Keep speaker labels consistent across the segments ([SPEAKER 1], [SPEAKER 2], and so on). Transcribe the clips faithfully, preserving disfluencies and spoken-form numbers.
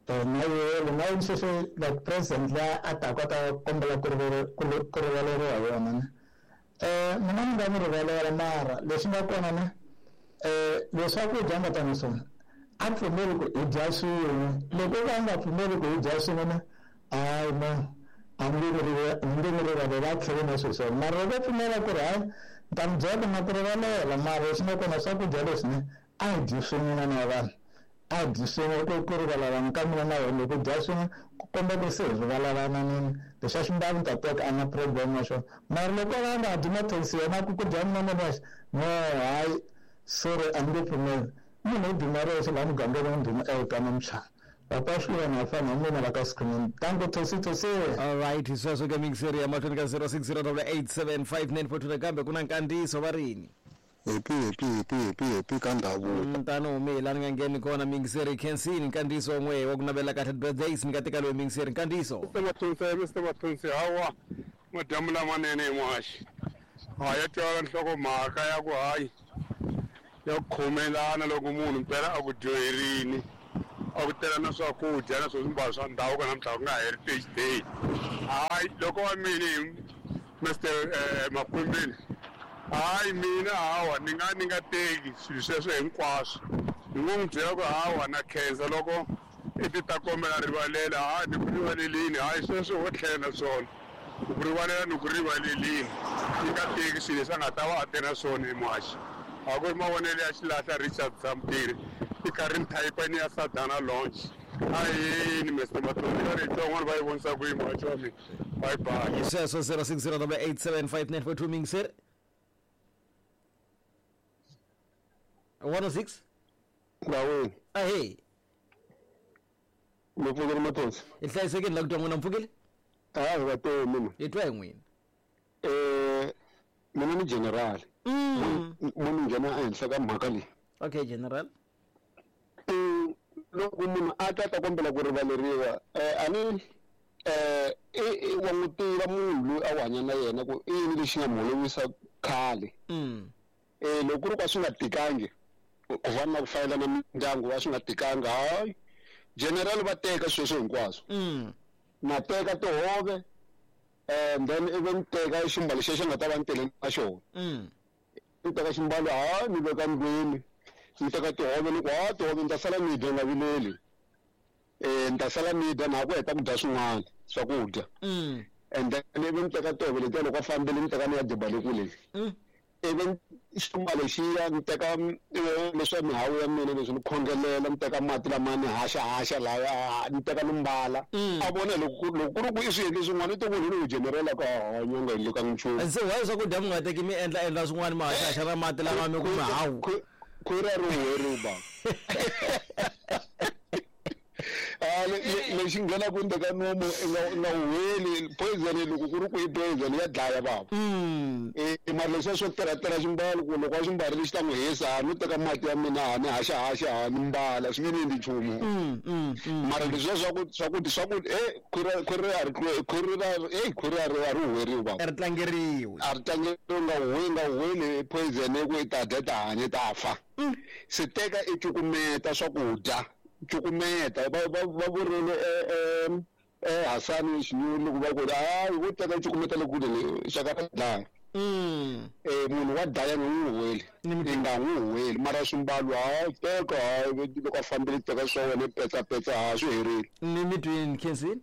[SPEAKER 1] Na yena na yena sweswi like president la a ta kota kombela ku ku rivaleriwa hi yona ne. Eh mina ni nga n'wi rivalela mara leswi nga kona ne eh leswaku dya nga tani swona a pfumeli ku hi dya swin'we loko va nga pfumeli ku hi dya swin'we ne hayi no a ni nge n'wi rivalela a tlhele na swilo swona mara loko pfumela ku ri hayi ni ta n'wi byela ku na ku rivalela mara leswi nga kona swakudya leswi ne a hi dyi swin'we na vanhu a dyi swin'we ku ku rivalelana ka mina na yena loko dya swin'we ku komba ku se hi rivalelananini leswi a swi ni ta teka a na problem na swona mara loko va nga dyi mathekisi yena ku ku dya mina na nexe no hayi sorry a ni nge pfumeli munhu u duma rexe laha mugangeni wa ndhuma eka namutshana papa swi na fana mina la ka screen tango tosi tosi.
[SPEAKER 2] All right, sweswo ke mixeri ya mahlweni ka zero six zero eight seven five nine four two nakambe ku na nkandziyiso va rini.
[SPEAKER 3] Happy happy happy happy happy ka ndhavuko.
[SPEAKER 2] Tano humi la ni nga ngheni kona mixeri Kensini nkandziyiso n'we wa ku navela kahle birthdays ni nga teka loyi mixeri nkandziyiso.
[SPEAKER 4] Mister Mathonsi Mister Mathonsi hawa madyambu lamanene hi muhaxi. Ha ya twala nhlokomhaka ya ku hayi ya ku khomelana loko munhu mpela a ku dyoherini a ku tela na swakudya na swimbalo swa ndhavuko namuntlha ku nga Heritage Day. Hayi loko wa mina hi Mister Makwembeni hayi mina hawa ni nga ni nga teki swilo sweswo hinkwaswo ni ngo n'wi byela ku hawa na khensa loko i ti ta kombela rivalela hayi ni ku rivalelini hayi sweswo wo tlhela na swona ku rivalela ni ku rivalelini ni nga teki swilo leswi a nga ta va a te na swona hi muhaxi. A ku ri mavonelo ya xilahla Richard Samtiri i karhi ni thayipani ya Sadana Lounge. Ahini Mister Mathonsi ka rito van'wana va yi vonisa ku yi muhaxi wa mina. Bye bye.
[SPEAKER 2] Sweswo zero six zero eight seven five nine four two mixer one oh six.
[SPEAKER 3] Ndawini.
[SPEAKER 2] Ahee.
[SPEAKER 3] Mi pfukile Mathonsi?
[SPEAKER 2] Hi hlayisekile la ku twa n'wina mpfukile?
[SPEAKER 3] A hi va twe mina.
[SPEAKER 2] Hi twa hi n'wina.
[SPEAKER 3] Eh mina ni general. Munhu nghena ehenhla ka mhaka leyi.
[SPEAKER 2] Okay general.
[SPEAKER 3] Loko munhu a ta ta kombela ku rivaleriwa eh a ni eh i wa n'wi tiva munhu loyi a wu hanya na yena ku i yini lexi nga n'wi holovisa khale. Eh loko ku ri ka swi nga tikangi ku fana na ku fayela na mindyangu wa swi nga tikanga hayi general va teka sweswo hinkwaswo. Na teka tihove and then even teka ximbalo xexo nga ta va ni tele na xona. Ni teka ximbalo hayi ni veka ndlwini ni teka tihove ni ku ha tihove ni ta sala ni dya nga vileli eh ni ta sala ni dya na ku heta ku dya swin'wana swakudya. And then even teka tihove letiya loko a fambile ni teka ni ya diba le kule. Even ximbalo xiya ni teka leswa mihawu ya mina leswi ni khongelela ni teka mati lama ni haxa haxa laya ni teka ni mbala a vona loko loko ku ri ku i swi endle swin'wana i to ku ni generela ka hanya nga endli ka nchumu.
[SPEAKER 2] Se why swakudya mi nga teki mi endla endla swin'wana mi haxa haxa na mati lama mi ku mihawu
[SPEAKER 3] khwiri a ri huweriwi bava. Ah lexi nghenaka ndzeni ka nomu i nga nga huweli poison loko ku ri ku i poison ya dlaya bava. Eh mara leswiya swo tirha ximbalo ku loko a xi mbarile xi ta n'wi hisa no teka mati ya mina ha ni haxa haxa ha ni mbala swi nge ni endli nchumu. Mara leswiya swa ku swa ku swa ku eh khwiri khwiri a ri khwiri ra eh khwiri a ri a ri huweriwi bava.
[SPEAKER 2] A ri tlangeriwi.
[SPEAKER 3] A ri tlangeriwi nga huweli nga huweli poison ku i ta dya ta hanya ta fa. Se teka i cukumeta swakudya. Cukumeta va va va vurile eh eh Hasani Xinyori loko va ku hayi wo teka cukumeta le kule le xaka ra dlaya. Eh munhu wa dlaya nga n'wi huweli i nga n'wi huweli mara swimbalo hayi teka hayi loko a fambile teka swa wena petsapetsa ha swi herile.
[SPEAKER 2] Ni mi twini Kensini?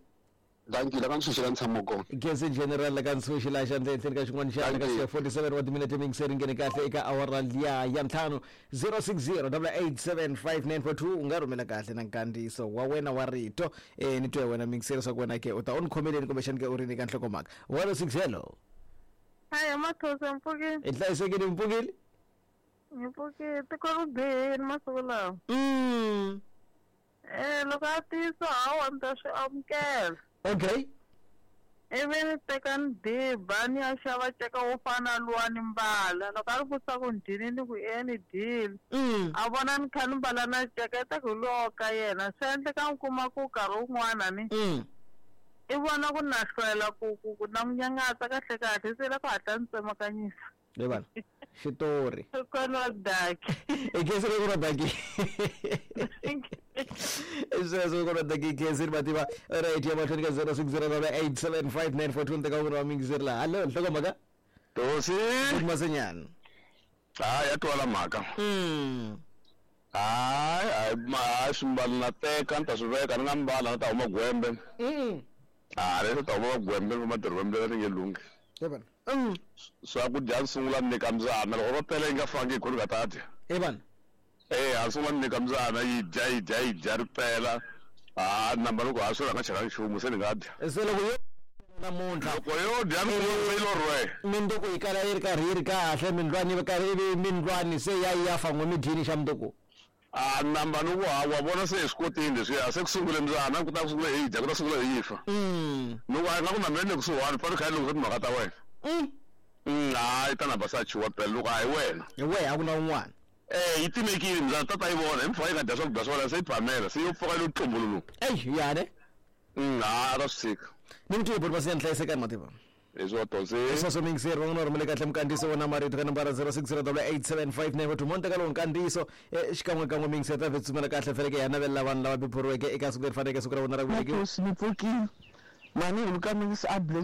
[SPEAKER 3] Dankie la ka ntshuxi la ntshamo kona.
[SPEAKER 2] Kensini general la ka ntshuxi la xandla ehenhleni ka xin'wana xa ka forty-seven wa timinete mixeri nghene kahle eka awara liya ya ntlhanu zero six zero eight seven five nine four two u nga rhumela kahle na nkandziyiso wa wena wa rito eh ni twe wena mixeri swa ku wena ke u ta u ni khomeleni kumbexani ke u ri nyika nhlokomhaka one oh six hello.
[SPEAKER 5] Hayi Mathonsi mpfukile.
[SPEAKER 2] I hlayisekile mpfukile?
[SPEAKER 5] Mpfukile tiko ri bihile masiku lawa.
[SPEAKER 2] Mm.
[SPEAKER 5] Eh loko a tiyisa hawa ni ta swi amukela.
[SPEAKER 2] Okay.
[SPEAKER 5] Ivi ni teka ni diba ni ya xava nceka wo fana luwa ni mbala loko a ri vutisa ku ni dyini ni ku e ni dyile. A vona ni kha ni mbala na nceka i ta ku hi luwa ka yena swi endleka ni kuma ku nkarhi wun'wana ni i vona ku na hlwela ku ku ku na n'wi nyangatsa kahle kahle se la ku hatla ni tsemakanyisa.
[SPEAKER 2] Le vana. Xitori.
[SPEAKER 5] Kokwana Daki.
[SPEAKER 2] I khensile kokwana Daki. Sweswo kokwana Daki khensile mativa. Right ya mahlweni ka zero six zero eight seven five nine four two ni teka un'wana wa miyingiseri laha. Hallo, nhlokomhaka?
[SPEAKER 6] Tosi.
[SPEAKER 2] Masenyana.
[SPEAKER 6] Hayi, ya twala mhaka.
[SPEAKER 2] Mm.
[SPEAKER 6] Hayi, hayi, hayi swimbalo na teka ni ta swi veka ni nga mbala ni ta huma gwembe.
[SPEAKER 2] Mm.
[SPEAKER 6] Ah, leswi ta huma gwembe ni madorobeni leri nge lunghi.
[SPEAKER 2] Yebana. Mm.
[SPEAKER 6] Swakudya ni sungula ni nyika mbyana loko ro tele yi nga fangi hi ku ni nga ta dya.
[SPEAKER 2] Yebana.
[SPEAKER 6] Eh, a sungula ni nyika mbyana yi dya yi dya yi dya ri pela. Ah, namba loko ha swi nga chela nchumu se ni nga dya.
[SPEAKER 2] Se loko yo namuntlha
[SPEAKER 6] loko yo dya ni yi lo rhwe.
[SPEAKER 2] Minduku yi kala yi ri karhi yi ri kahle mindlwani yi karhi ivi mindlwani se ya yi ya fa n'we mi dyini xa mundzuku.
[SPEAKER 6] Ah, namba ni ku ha wa vona se hi swi kotile leswiya se ku sungule mbyana ku ta ku sungule hi dya ku ta sungula hi fa.
[SPEAKER 2] Mm.
[SPEAKER 6] Ni ku a nga ku na mina ni le kusuhani fane kha yi lunghisa timhaka ta wena.
[SPEAKER 2] Mm.
[SPEAKER 6] Mm, hayi ta namba sa chuwa phela loko a hi wena.
[SPEAKER 2] Hi wehe a ku na un'wana.
[SPEAKER 6] Eh, yi timekile mbyana tata yi vona hi mpfhuka yi nga dya swakudya swa wena se yi phamela se yo pfuka yi lo tlumbululu.
[SPEAKER 2] Eyi yani.
[SPEAKER 6] Mm, ha ta swi tshika.
[SPEAKER 2] Ni mi twile boti Masenyana hlayisekani mativa.
[SPEAKER 6] Leswi wa Tosi.
[SPEAKER 2] Sweswo miyingiseri van'wana va rhumele kahle minkandziyiso wona marito ka nambara zero six zero eight seven five nine two mo teka lowu nkandziyiso xikan'we kan'we miyingiseri ta vhetsumela kahle feleke ya navelela vanhu lava beburiweke eka siku leri faneleke siku ra vona ra ku velekiwa.
[SPEAKER 1] Ni pfukile mani hi luka mingisi a